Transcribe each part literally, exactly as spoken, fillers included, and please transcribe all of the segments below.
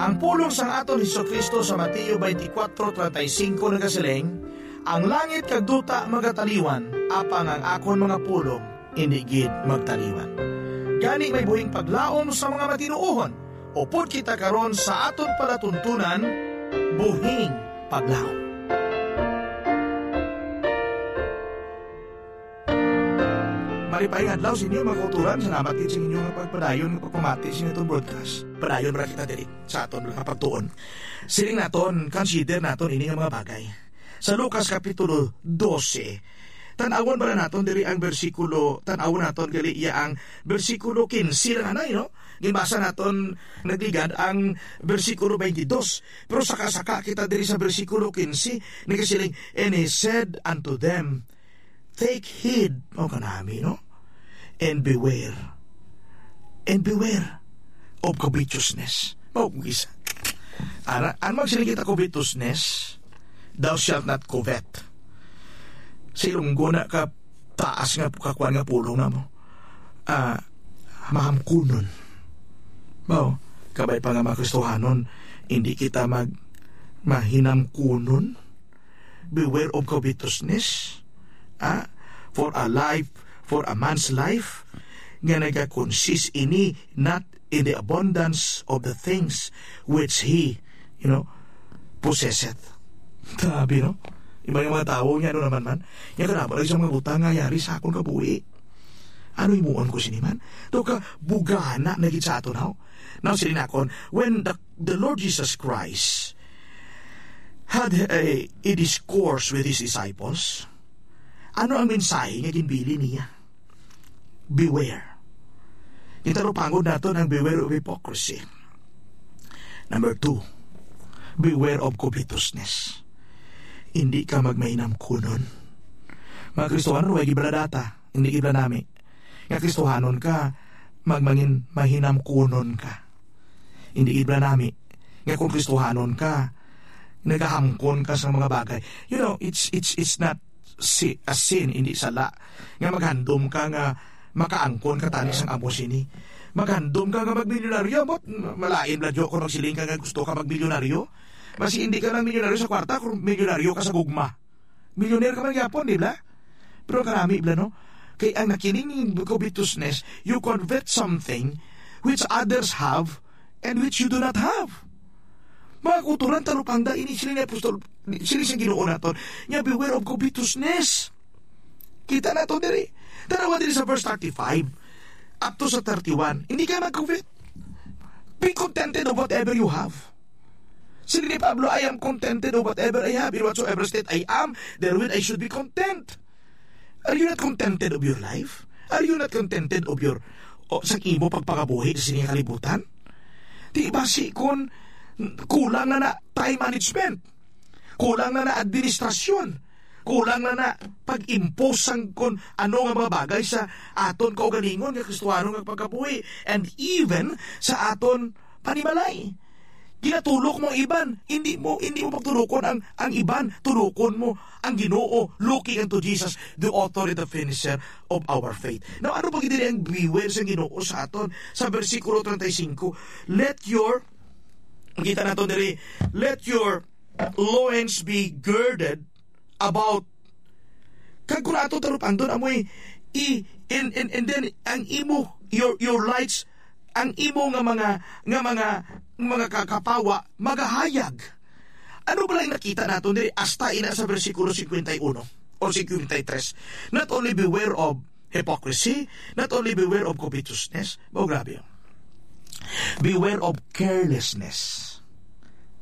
Ang pulong sang aton Jesu-Cristo sa Mateo twenty-four thirty-five nagasiling, "Ang langit kag duta magataliwan, apang ang akon mga pulong indi gid magtaliwan." Gani, may buhing paglaom sa mga matinuohon, upod kita karon sa aton palatuntunan, Buhing Paglaom. Malipay nga adlaw sa inyo, mga kauturan. Salamat gid sa inyo nga pagpadayon nga pagpamati sa aton broadcast. Padayon ra kita diri sa aton nga pagtuon. Siling naton, consider naton ini nga mga bagay. Sa Lucas Kapitulo dose, tan-awon bala naton diri ang bersikulo, tan-awon naton gali iya ang bersikulo kinse lang anay, no? Ginbasa naton nagligad ang bersikulo twenty-two. Pero saka-saka kita diri sa bersikulo kinse, nagasiling, "And he said unto them, Take heed," mao kanami, no? "And beware. And beware of covetousness." Mao kung isa. Ara, ano magsiling kita covetousness? "Thou shalt not covet." Sa Ilonggo na ka taas nga kakuan nga pulong na mo. Ah, mahamkunon. Mao, kabay pa nga mga Kristohanon, hindi kita mag-, mahinamkunon. Beware of covetousness. Ah, for a life, for a man's life, nga nagakonsist ini not in the abundance of the things which he, you know, possesseth. Grabe, no? Iba yung mga tawo niya, ano naman man? Niya ka na ba sa mga butang nga yari sa akon kabuhi? Ano himuon ko sini man? To ka bugana na gid sa aton, haw? Now, sila nakon, when the, the Lord Jesus Christ had a, a discourse with his disciples, ano ang mensahe nga ginbili niya? Beware. Itarupangon naton ang beware of hypocrisy. Number two, beware of covetousness. Hindi ka magmahinamkunon. Mga Kristohanon, way gibala data, hindi gibala nami. Nga Kristohanon ka, magmangin mahinamkunon ka. Hindi gibala nami. Nga kung Kristohanon ka, nagahamkon ka sa mga bagay. You know, it's, it's, it's not si-, a sin, hindi sala. Nga maghandom ka nga makaangkon ka tani sang amo sini. Maghandom ka nga magmilyonaryo, but malain bala, Jo, kung magsiling ka nga gusto ka magmilyonaryo. Mas hindi ka lang milyonaryo sa kwarta kung milyonaryo ka sa gugma. Milyonaryo ka man gyapon, di ba? Pero karami bala, no? Kay ang nakining covetousness, you covet something which others have and which you do not have. Mga kauturan, tarupangda ini sila ni Apostol, sila sa Ginoo naton, nga beware of covetousness. Kita nato diri. Tanawa diri sa verse thirty-five up to sa thirty-one. Hindi ka mag-covet. Be contented of whatever you have. Sila ni Pablo, "I am contented of whatever I have. In whatsoever state I am, therewith I should be content." Are you not contented of your life? Are you not contented of your, o, sa imo pagpangabuhi sa sining kalibutan? Di ba si kon kulang na na time management? Kulang na na administrasyon? Kulang na na pag-impose sang kon ano nga mga bagay sa aton kaugalingon nga Kristohanon nga pagkabuhi, and even sa aton panimalay. Ginatulok mo ang iban, hindi mo, hindi mo pagtulokon ang, ang iban, tulokon mo ang Ginoo, looking unto Jesus, the author and the finisher of our faith. Now, ano pa gid diri ang beware sa Ginoo sa aton? Sa bersikulo treinta y cinco, "Let your," kita nato diri, "Let your loins be girded about." Kag kung ato tarupangdon, amoy i-, and, and, and then ang imo, your, your lights, ang imo nga mga, nga mga, mga kakapawa magahayag. Ano ba lang nakita nato diri hasta ina sa bersikulo fifty-one o fifty-three? Not only beware of hypocrisy, not only beware of covetousness. Mao, grabe. Beware of carelessness.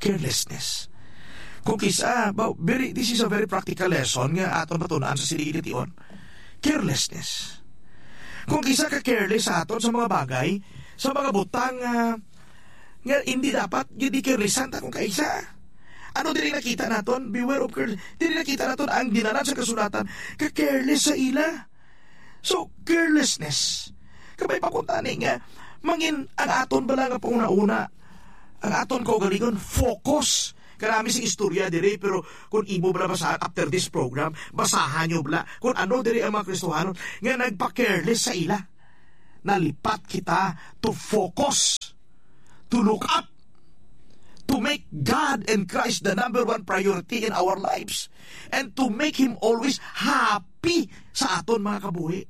Carelessness. Kung kisa, ba, very, this is a very practical lesson nga aton matun-an sa sining tion. Carelessness. Kung kisa ka careless sa aton sa mga bagay, sa mga butang nga, nga hindi dapat gid i-carelessan ta kung kaisa. Ano diri nakita naton? Beware of careless. Diri nakita naton ang dinanan sa kasulatan ka careless sa ila. So, carelessness. Kabay pa kuntani nga, mangin ang aton bala nga panguna-una, ang aton kaugalingon, focus. Karami sing istorya diri, pero kung imo bala basahan after this program, basahan nyo bala kung ano diri ang mga Kristohanon nga nagpa-careless sa ila. Nalipat kita to focus, to look up. make God and Christ the number one priority in our lives and to make Him always happy sa aton mga kabuhi.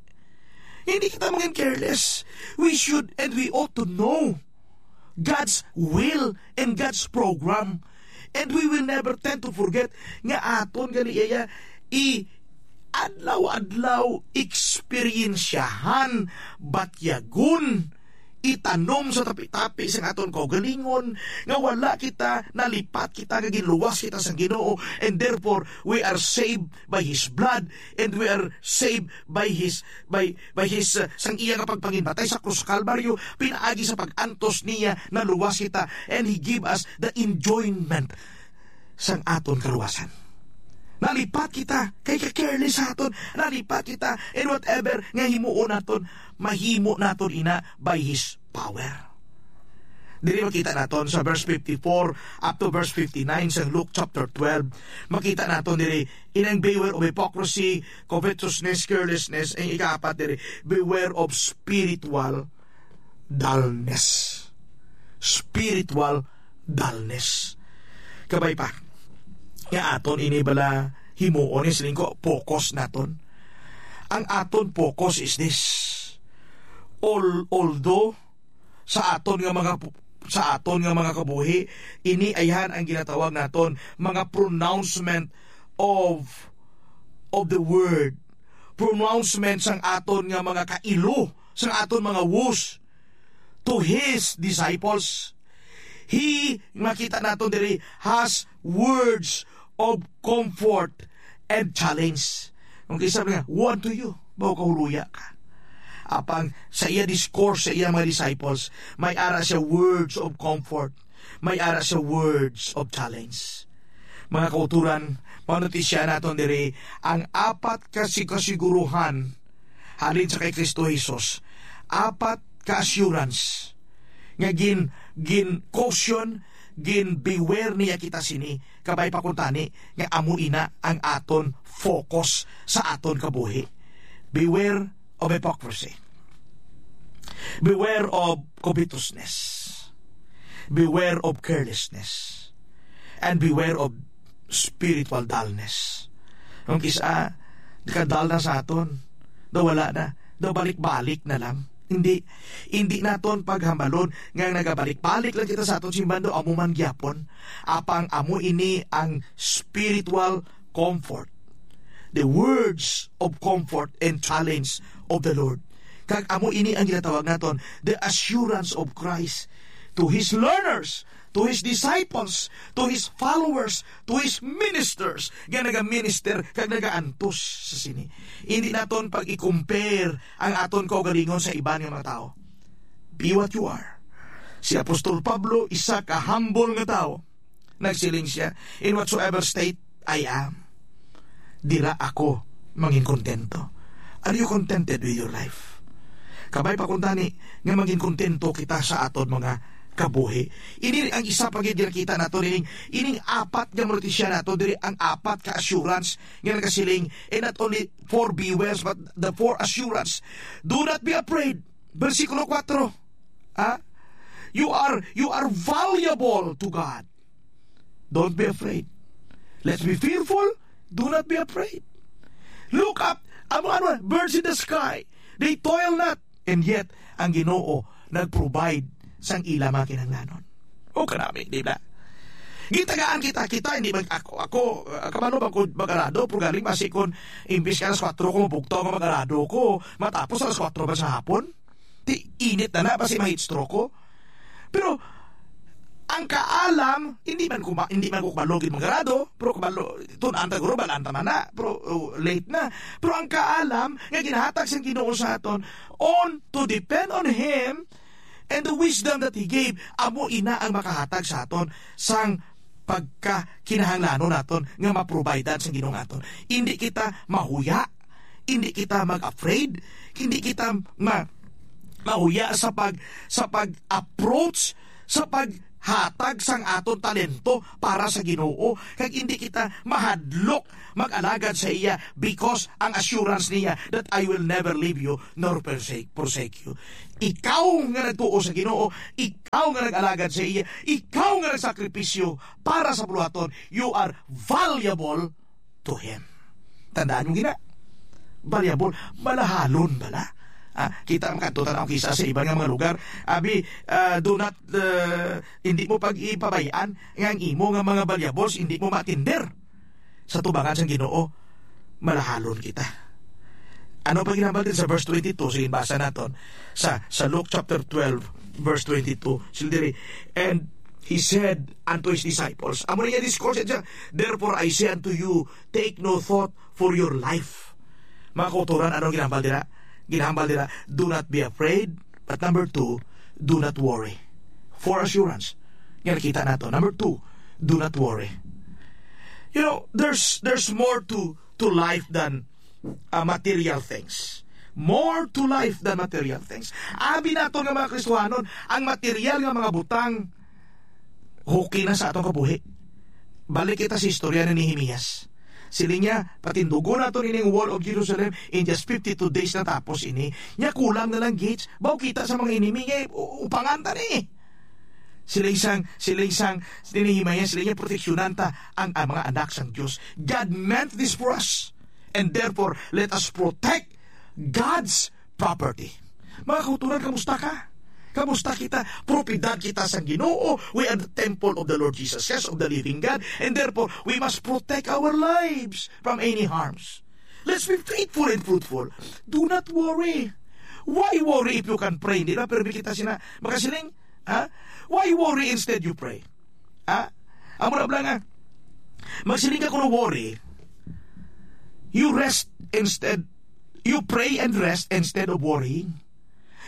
Hindi kita mangin careless. We should and we ought to know God's will and God's program. And we will never tend to forget nga aton gali iya i adlaw-adlaw eksperyensyahan, batyagon, itanom sa tapi-tapi sang aton kaugalingon, nga wala kita, nalipat kita, nga ginluwas kita sang Ginoo, and therefore we are saved by His blood, and we are saved by His, by, by His, uh, sang iya nga pagpanginmatay sa krus sa Kalbaryo, pinaagi sa pag-antos niya, naluwas kita, and He give us the enjoyment sang aton kaluwasan. Nalipat kita, kay ka-careless sa aton. Nalipat kita, and whatever nga himuon naton, mahimo naton ina by His power. Diri makita naton sa verse fifty-four up to verse fifty-nine sa Luke chapter twelve. Makita naton diri inang beware of hypocrisy, covetousness, carelessness, ang ikaapat diri, beware of spiritual dullness. Spiritual dullness. Kabay pa, nga aton ini bala himuon, is lingko, focus naton. Ang aton focus is this. Al-, although sa aton nga mga pu-, sa aton nga mga kabuhi, ini ayhan ang ginatawag naton mga pronouncement of, of the word. Pronouncement sang aton nga mga kailo, sang aton mga woes to His disciples. He, makita naton diri, has words of comfort and challenge. Kung isa nga, "Woe unto you, bawo ka, huluya ka." Apang sa iya discourse sa iya mga disciples, may ara siya words of comfort, may ara siya words of challenge. Mga kauturan, mao na ti siya naton diri ang apat ka sig-, kasiguruhan halin sa kay Kristo Jesus. Apat ka assurance nga gin, gin caution, gin beware niya kita sini, kabay pa kuntani nga amo ina ang aton focus sa aton kabuhi. Beware of hypocrisy. Beware of covetousness. Beware of carelessness. And beware of spiritual dullness. Ang kisa, nakadal na sa aton. Daw wala na. Daw balik-balik na lang. Hindi, hindi naton paghambalon nga nagabalik-balik lang kita sa aton simbahan, daw amo man gyapon. Apang amo ini ang spiritual comfort. The words of comfort and challenge of the Lord. Kag amo ini ang ginatawag naton, the assurance of Christ to His learners, to His disciples, to His followers, to His ministers, nga nagaminister kag nagaantos sa sini. Hindi naton pag-i-compare ang aton kaugalingon sa iban nga mga tawo. Be what you are. Si Apostol Pablo, isa ka humble nga tawo. Nagsiling siya, "In whatsoever state I am, dira ako mangin kontento." Are you contented with your life? Kabay pa kuntani nga mangin kontento kita sa aton mga kabuhi. Ini ang isa pa gid nakita nato ining, ining apat nga mao na ti siya nato diri, ang apat ka assurance nga nagasiling, and not only four beware, but the four assurance. Do not be afraid. Bersikulo kuwatro. Ha? You are, you are valuable to God. Don't be afraid. Let's be fearful. Do not be afraid. Look up. Amo, ano, birds in the sky. They toil not. And yet, ang Ginoo nag-provide sang ila mga kinahanglanon. O kanami, di ba? Gitagaan kita, kita, hindi mag-, ako, ako, ah, kabalo ba ko mag-arado, pero galing basi kon imbis ka alas kuwatro ko mabugtaw nga mag-arado ko, matapos alas kuwatro ba sa hapon? Ti init na na, basi ma-heat stroke ko. Pero, ang kaalam, hindi man ko ma-, hindi man ko kabalo gid mag-arado, pero kabalo, tun-an ta guro, balaan ta man na, pero, oh, late na. Pero ang kaalam nga ginahatag sang Ginoo sa aton, on to depend on Him and the wisdom that He gave, amo ina ang makahatag sa aton sang pagkakinahanglanon naton nga ma-providean sang Ginoo naton. Hindi kita mahuya, hindi kita mag-afraid, hindi kita ma-, mahuya sa pag-, sa pag-approach, sa pag- maghatag sang aton talento para sa Ginoo, kag hindi kita mahadlok mag-alagad sa iya, because ang assurance niya that, "I will never leave you nor forsake, forsake you." Ikaw nga nagtuo sa Ginoo, ikaw nga nag-alagad sa iya, ikaw nga nagsakripisyo para sa buluhaton, you are valuable to Him. Tandaan mo gina, valuable, malahalon bala. Ah, kita makadto ta na kisa sa iban nga mga lugar. Abi, ah, do not, ah, hindi mo pag-ipabayaan nga ang imo nga mga valuables hindi mo matinder sa tubangan sang Ginoo. Malahalon kita. Ano pa ginhambal din sa verse twenty-two? Sige, basa naton sa, sa Luke chapter twelve, verse twenty-two. Sila diri, "And he said unto his disciples," amo na iya discourse siya, "Therefore I say unto you, take no thought for your life." Mga kauturan, ano ginhambal dira? Ginhambal dira, "Do not be afraid." But number two, "Do not worry." For assurance, nga nakita nato. Number two, "Do not worry." You know, there's there's more to to life than, uh, material things. More to life than material things. Abi nato nga mga Kristohanon, ang material nga mga butang, okay na sa atong kabuhi. Balik kita sa istorya ni Nehemias. Siling niya, "Patindugon naton ining wall of Jerusalem, in just fifty-two days natapos ini. Nya kulang na lang gates. Baw kita sa mga enemy nga u-, upangan ta ni." Siling sang, siling sang, ni Nehemias, siling niya, "Proteksyonan ta ang, ang mga anak sang Dios." God meant this for us. And therefore, let us protect God's property. Mga kauturan, kamusta ka? Kamusta kita? Propiedad kita sang Ginoo. We are the temple of the Lord Jesus Christ, of the living God. And therefore, we must protect our lives from any harms. Let's be faithful and fruitful. Do not worry. Why worry if you can pray? Di ba? Pero kita sina, makasiling, ha? Why worry instead you pray? Ha? Amo na bala nga, magsiling ka kuno worry, you rest instead, you pray and rest instead of worrying.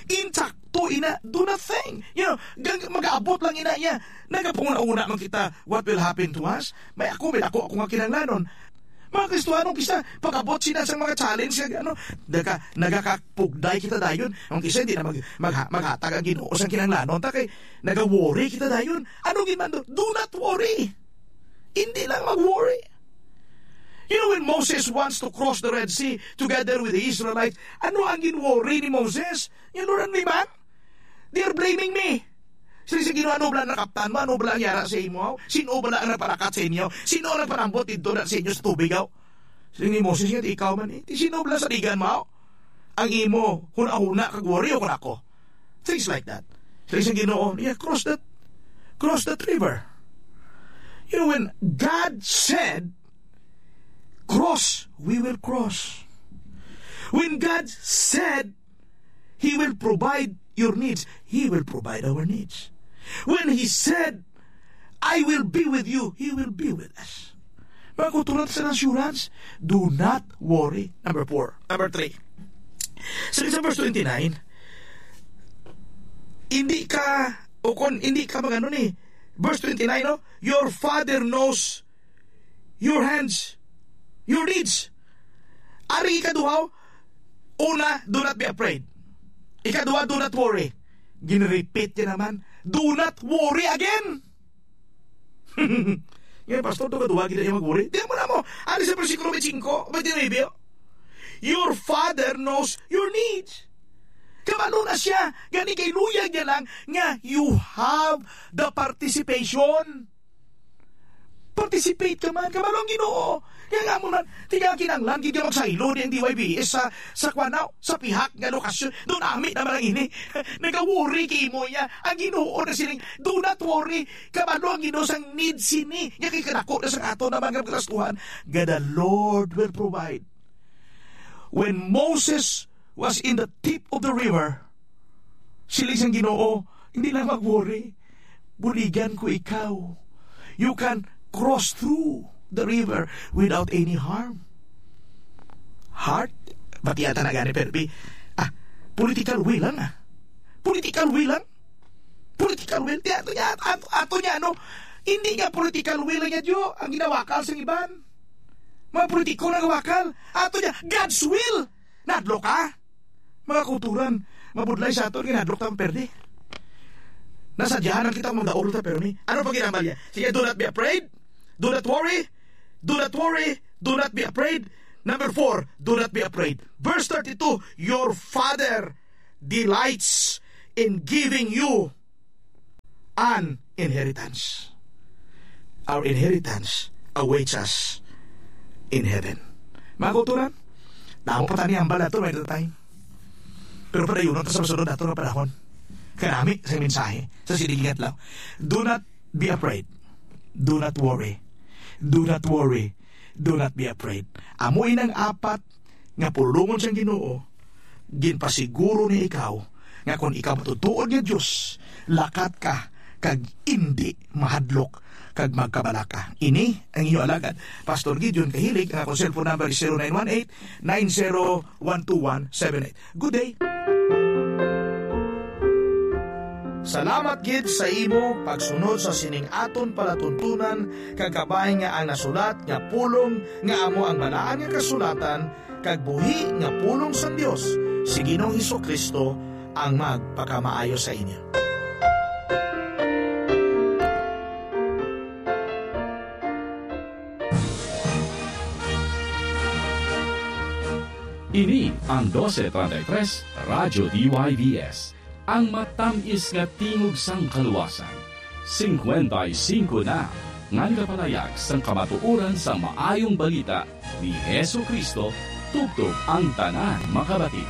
Insakto ina, do nothing. You know, gang-, mag-aabot lang ina niya. Nagapanghuna-huna man kita, what will happen to us? May ako, may ako, ako nga kinahanglanon. Mga Kristohanon, kisa pag-abot sila sa mga challenge, nga, ano, naga-, nagakapugday kita dayon. Ang kisa hindi na mag-, magha-, maghatag ang Ginoo sa kinahanglanon ta kay naga-worry kita dayon. Ano gid man do? Do not worry. Hindi lang mag-worry. You know, when Moses wants to cross the Red Sea together with the Israelites, ano ang gin-worry ni Moses? You know, ni man? They are blaming me. Sila sa Ginoo, "Ano bala nakaptan mo? Ano bala ang yara sa imo? Sino bala ang nagpalakat sa inyo? Sino ang nagpanambot didto na sa inyo sa tubig, aw?" Sila ni Moses, "Nga, di ikaw man eh. Di sino bala sa digan mo, aw? Ang imo, huna-huna, kag worry, o kun ako?" Things like that. Sila sa Ginoo, "Yeah, cross that, cross that river." You know, when God said, "Cross," we will cross. When God said, He will provide your needs. He will provide our needs. When He said, "I will be with you," He will be with us. Mga kauturan, sa assurance, do not worry. Number four. Number three. Sa, sa verse twenty-nine, hindi ka, o kon hindi ka magano ni, verse twenty-nine, no? "Your Father knows your hands, your needs." Ari ikaduha, una, "Do not be afraid." Ikaduha, "Do not worry." Gin-repeat niya naman, "Do not worry again." Nga, "Pastor, duha-duha gid ang mag-worry." Di mo na mo. Ari sa bersikulo twenty-five, twenty-nine, "Your Father knows your needs." Kabalo na siya. Gani kay luyag niya lang nga you have the participation. Participate ka man, kabalo ang Ginoo. Kaya nga mo man, tiga kinanglan, gid ka magsaylo ni ang D Y B S sa, sa kwan, aw, sa pihak nga lokasyon. Doon, ami naman ang ini. Nagawori kay mo niya. Ang Ginoo na siling, "Do not worry." Kabalo ang Ginoo sang need sini. Nga kay kadako na sang ato na mga gastuhan. God the Lord will provide. When Moses was in the tip of the river, siling sang Ginoo, "Hindi lang mag-worry. Buligan ko ikaw. You can cross through the river without any harm." Heart, bati ata na gani, pero bi-, ah, political will lang, ah. Political will lang. Political will. Di ato niya, ato, ato niya, ano, hindi niya political will niya, Diyo, ang ginawakal sa iban. Mga politiko na gawakal. Ato niya, God's will. Nadlo ka. Mga kauturan, mabudlay sa aton, ginadlok tang perde. Nasadyahan lang kita kung magdaog ta, pero ni, ano pa ginambal niya? Sige, "Do not be afraid. Do not worry. Do not worry. Do not be afraid." Number four, "Do not be afraid." Verse thirty-two, "Your Father delights in giving you an inheritance." Our inheritance awaits us in heaven. Mga kauturan, damo pa tani ang bala to, may time. Pero padayon ta sa masunod nato nga panahon. Kanami sa mensahe sa sining adlaw. Do not be afraid. Do not worry. Do not worry. Do not be afraid. Amo inang apat nga pulongon sang Ginoo, ginpasiguro ni ikaw nga kon ikaw matutuod nga Dios, lakat ka kag indi mahadlok kag magkabalaka. Ini ang inyo alagad, Pastor Gideon Kahilig. Ang akong cellphone number is zero nine one eight, nine zero one two one seven eight. Good day. Salamat gid sa imo pagsunod sa sining aton palatuntunan, kag kabay nga ang nasulat nga pulong nga amo ang Balaan nga Kasulatan kag buhi nga pulong sang Dios, si Ginoong Jesu-Cristo ang magpakamaayo sa inyo. Ini ang doce treinta y tres Radyo D Y V S, ang matamis nga tingog sang kaluwasan. Singkwenta y singko na nga nagapalayag sang kamatuoran sang Maayong Balita ni Jesu-Cristo, tubtob ang tanan makabati.